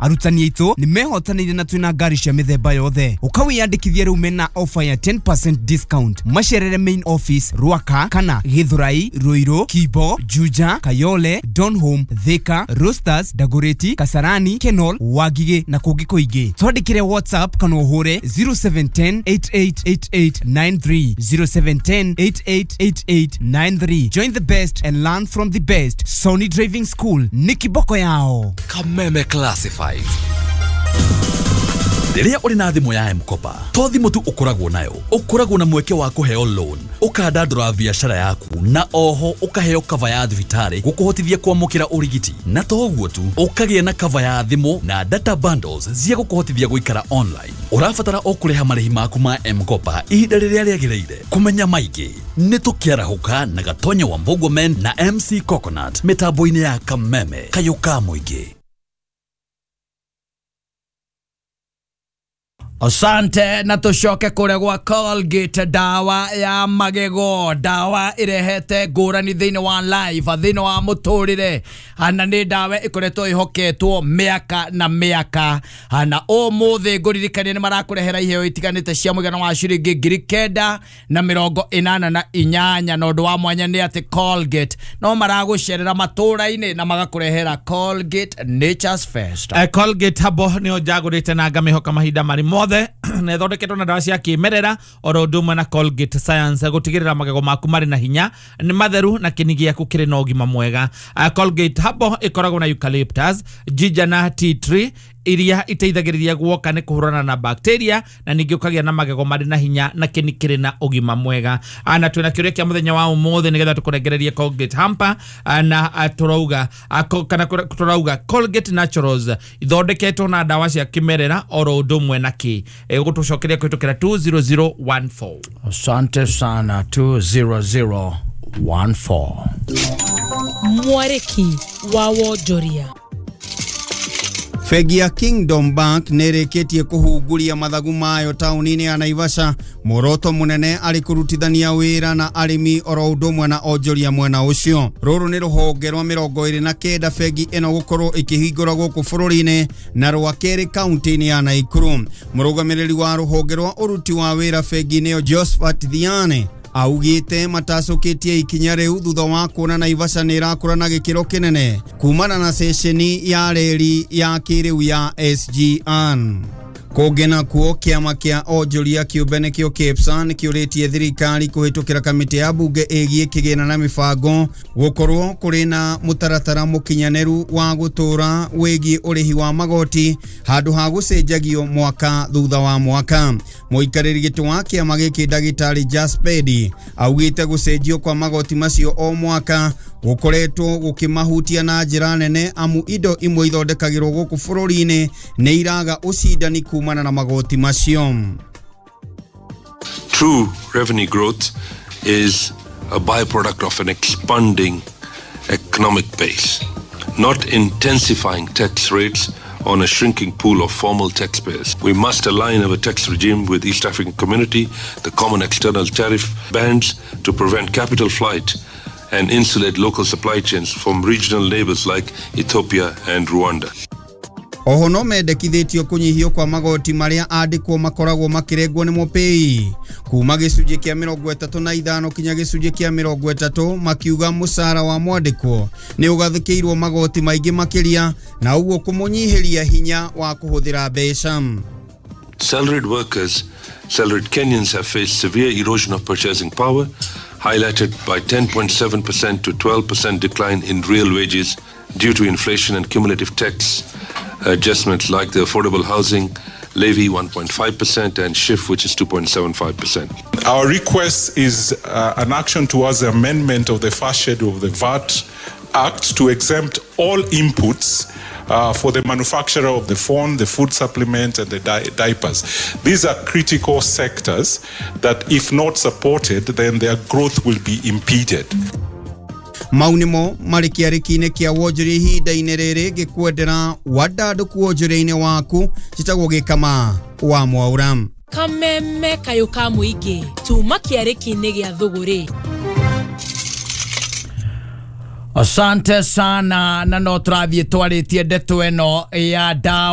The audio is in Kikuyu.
Arutani aitũ nĩ mehotanĩire na twĩna ngari cia mĩthemba yothe. Ũkawĩyandĩkithia rĩu mena offer ya 10% discount. Macerere main office Ruaka kana Githurai, Ruiru, Kibo, Juja, Kayole, Donholm, Thika, Roasters, Dagoretti, Kasarani, Kenol, Wangigĩ na kũngĩ kũingĩ. Twandĩkĩre WhatsApp kana ũhũre 0710 888893, 0710 888893. Join the best and learn from the best. Sony Driving School ní kiboko yao. Kameme Classifieds. Rĩrĩa ũrĩ na thimũ ya M-Kopa, to thimũ tu ũkoragwo nayo, ũkoragwo na mweke wa kũheo loan, ũkandandũra biacara yaku, na oho ũkaheo cover ya thibitarĩ gũkũhotithia kwamũkĩra ũrigiti. Na to ũguo tu, ũkagĩa na cover ya thimũ na data bundles cia gũkũhotithia gũikara online. Ũrabatara o kũrĩha marĩhi maku ma M-Kopa ihinda rĩrĩa rĩagĩrĩire. Kũmenya maingĩ nĩ tũkĩarahũka na Gatonya wa Mbogwa Men na MC Coconut mĩtambo-inĩ ya Kameme kayũ ka mũingĩ. Asante, na tucoke kũrĩa gwa Colgate, ndawa ya magego, ndawa ĩrehete ngũrani thĩinĩ wa life, thĩinĩ wa mũtũrĩre, na nĩ ndawa ĩkoretwo ĩhoketwo mĩaka na mĩaka. Na ũmũthĩ ngũririkania nĩ marakũrehera iheo itiganĩte cia mũigana wa ciringi 988, na ũndũ wa mwanya nĩ atĩ Colgate no maragũcerera matũra-inĩ na magakũrehera Colgate Nature's Fest. Colgate habo nĩyo njagũrĩte na ngamĩhoka mahinda marĩ mothe, na ĩthondeketwo na ndawa cia kĩmerera oro ũndũ ũmwe na Colgate Science gũtigĩrĩra magego maku marĩ na hinya, nĩ matheru na kĩni gĩaku kĩrĩ na ũgima mwega. Colgate habo ĩkoragwo na eucalyptus, ginger na tea tree iria iteithagĩrĩria guoka nĩ kũhũrana na bacteria na ningĩ ũkagĩa na magego marĩ na hinya na kĩni kĩrĩ na ũgima mwega. Na twĩna kĩũria kĩa mũthenya wa ũmũthĩ nĩgetha tũkũnengererie Colgate hamper, na tũrauga kana tũrauga Colgate Naturals ithondeketwo na ndawa cia kĩmerera oro ũndũ ũmwe na kĩ. Gũtũcokeria kũhĩtũkĩra 20014. Asante sana, 20014. Mwarĩki wa wonjoria. Bengi ya Kingdom Bank nĩ ĩrĩkĩtie kũhunguria mathagu mayo taũni-inĩ ya Naivasha, muoroto mũnene arĩ kũrutithania wĩra na arĩmi oro ũndũ ũmwe na onjoria mwena ũcio. Rũrũ nĩ rũhonge rwa 29 bengi ĩno gũkorwo ĩkĩhingũra gũkũ bũrũri-inĩ na rwa kerĩ kaunti-inĩ ya Nakuru. Mũrũgamĩrĩri wa rũhonge rwa ũruti wa wĩra bengi-inĩ ĩyo Josephat Thiane augĩte matacũkĩtie ikinya rĩu thutha wa kuona Naivasha nĩ ĩrakũra na gĩkĩro kĩnene kumana na ceceni ya reri ya kĩrĩu ya SGR. Kũngĩ nakuo, kĩama kĩa onjoria kĩũmbe nĩkĩo KEPSA nĩkĩũrĩtie thirikari kũhĩtũkĩra kamĩtĩ ya mbunge ĩgiĩ kĩgĩna na mĩbango gũkorwo kũrĩ na mũtaratara mũkinyanĩru wa gũtũra wĩgiĩ ũrĩhi wa magoti handũ ha gũcenjagio mwaka thutha wa mwaka. Mũikarĩri gĩtĩ wa kĩama gĩkĩ ndagĩtarĩ Jaspedi augĩte gũcenjio kwa magoti macio o mwaka gũkoretwo gũkĩmahutia na njĩra nene, amu indo imwe ithondekagĩrwo gũkũ bũrũri-inĩ nĩ iraga ũcindani kumana na magoti macio. True revenue growth is a byproduct of an expanding economic base, not intensifying tax rates on a shrinking pool of formal taxpayers. We must align our tax regime with East African Community, the common external tariff bands to prevent capital flight and insulate local supply chains from regional neighbors like Ethiopia and Rwanda. Oho no mendekithĩtio kũnyihio kwa magoti marĩa andĩkwo makoragwo makĩrengwo nĩ mũpĩi kuma gĩcunjĩ kĩa 35 kinya gĩcunjĩ kĩa 30, makiuga mũcara wa mwandĩkwo nĩ ũgathĩkĩirwo magoti maingĩ makĩria na ũguo kũmũnyihĩria hinya wa kũhũthĩra mbeca. Salaried workers, salaried Kenyans have faced severe erosion of purchasing power, highlighted by 10.7% to 12% decline in real wages due to inflation and cumulative tax adjustments like the affordable housing levy 1.5% and SHIF, which is 2.75%. Our request is an action towards the amendment of the first schedule of the VAT Act to exempt all inputs for the manufacturer of the phone, the food supplement, and the diapers. These are critical sectors that, if not supported, then their growth will be impeded. Mau nĩmo marĩ kĩarĩki-inĩ kĩa wonjoria ihinda-inĩ rĩrĩ ngĩkwendera wandandũku wonjoria-inĩ waku. Njĩtagwo Gĩkama wa Mwaura. Kameme kayũ ka mũingĩ tuma kĩarĩki-inĩ gĩa thũgũrĩ. Asante sana, na no tũrathiĩ twarĩtie ndeto ĩno ya ndawa.